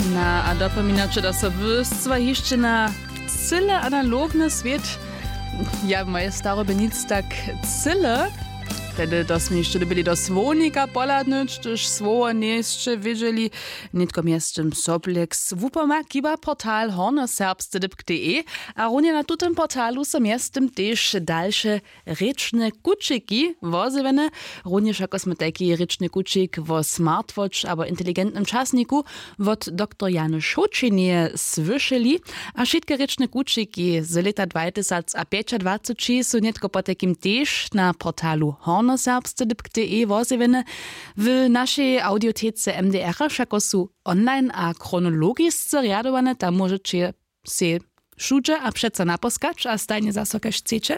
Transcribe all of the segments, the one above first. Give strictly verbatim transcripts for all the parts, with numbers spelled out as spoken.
Na a dopominaće da so wy stwa hišće na cyle analogny swět? Ja moje starobje nic tak cyle. Tehdy to smy hišće dyrbili do słownika pohladnyć, hdyž słowo njejsće wědźeli. Nětko mjeztym soblek z wupoma kiba portal hornjoserbsce dypk de. A runje na tutym portalu so mjeztym tež dalše rěčne kućiki wozjewjene. Runje wšako smy tajki rěčny kućik wo smartwatch abo inteligentnym časniku wot doktor jany šołćenje słyšeli. A wšitke rěčne kućiki z lěta dwatysacpjećadwaceći su nětko potajkim tež na portalu hornjoserbsce dypk de wozjewjene. W našej audiotece mdr wšako su online a chronologisce rjadowane, tam móžeće sej wšudźe a přeco naposkać a stajnje zaso kaž chceće.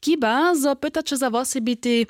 Kiba zo pytaće za wosebitej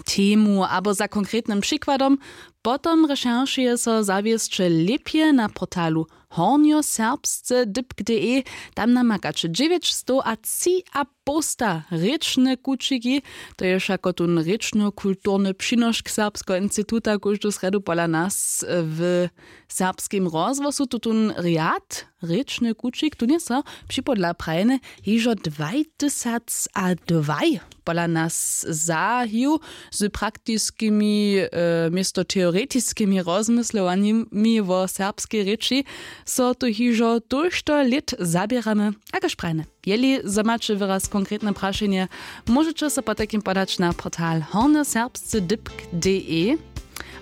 temu abo za konkretnym přikładom, potom rešeršuje so zawěsće lěpje na portalu hornjoserbsce dypk de. Tam namakaće dźewjećstowatřiapołsta rěčne kućiki. To je wšako tón rěčnokulturny přinošk serbskeho instituta kóždu srjedu pola nas w serbskim rozhłosu tutón rjad rěčny kućik tón je so připodla prajene hižo dwatysacadwaj pola nas zahił z praktiskimi, město teoretiskimi rozmyslowanjemi wo serbskej rěči. So tu hižo tójšto lět zaběramy. A kaž prajene, jeli zo maće wyraz konkretne prašenje, móžeće so potajkim podać na portal hornjoserbsce dypk de.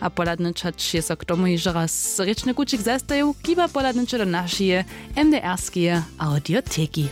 A pohladnyć hač je so k tomu hižo raz rěčny kućik zastajił, kiba pohladnyće do našeje mdrskeje audioteki.